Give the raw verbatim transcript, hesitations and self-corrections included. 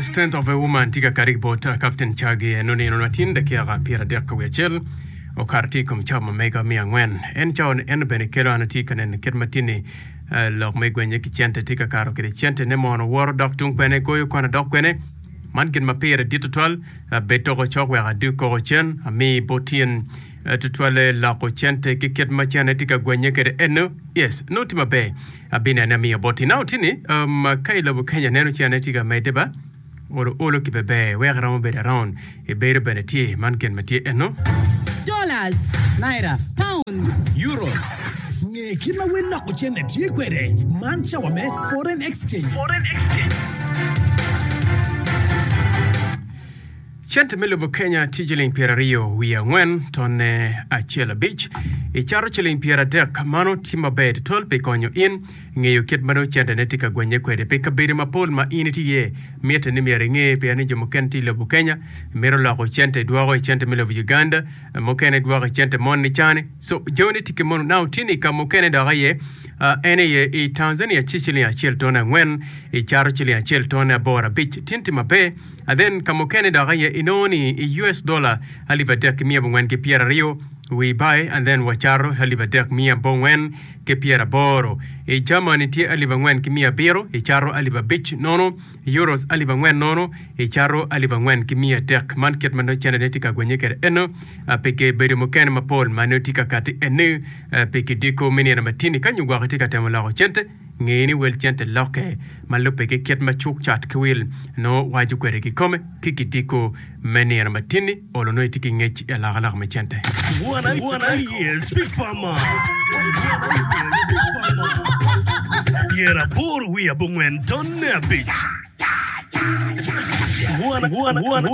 Strength of a Woman tye ka kati ki bot Captain Chagi en onino matin dakika pyeradek ka wiye acel okato tye i kom cawa ma mega miya angwen. En cawa ni en bene kelo an atye ka neno kit ma tye-ni lok me gwenye ki cente tye ka kato kwede cente ne mono woto dok tung kwene goyo kwana dok kwene. Man gin ma pire dit tutwal bed toko cok wek adug koko cen ami bot tyen tutwalle loko cente ki kit ma cene tye ka gwenye kwede eno. Yes, nongo tye maber. Abinene amiyo boti. Now tye ni, um, ka i lobo Kenya neno cene tye ka medde ba, olo olo ki beber wek iromo bedo around ibedo bene tye man gin ma tye eno. Dollars. Naira. Pounds. Euros. Nge kit ma wel loko cente tye kwede. Man cawa me Foreign Exchange. Cente me lobo Kenya tye ciling pyeraryo wiye angwen tonne acel abic. Icato ciling pyeradek, mano tye maber tutwal pi konyo in ngeyo kit ma nongo centene tye ka gwenye kwede. Pi kabedo mapol ma in itye iye, mitte ni myero inge pien ni jo mukene tye i lobo Kenya mito loko cente dwoko i cente me lobo Uganda, mukene dwoko i cente moni cani. So jamine tye ki mono. Now tye ni ka mukene dok aye en aye i Tanzania tye ciling acel tonne angwen, icato ciling acel tonne aboro abic. Tye ni tye maber. And then ka mukene dok aye inongo ni i U S dollar alip adek ki miya abongwen ki pyeraryo we buy and then wacato alip adek miya abongwen ki pyeraboro. I Germany tye alip angwen ki miya abiro icato alip abic nono, euros alip angwen nono icato alip angwen ki miya adek. Man kit ma nongo cente ne tye ka gwenye kwede eno pi bedo mukene mapol ma nongo tye ka kati eni pi kidiko me nino matini ka nyo gwok itye ka temo loko cente. Nge ni wel cente lokke ma lubbe ki kit ma cuk cat ki wil nongo waco kwede kikome ki kidiko me nino matinni olo nongo itye ki ngec i alokaloka me cente. Wan aye Speak Farmer pyeraboro wiye abongwen tonne abic. Wan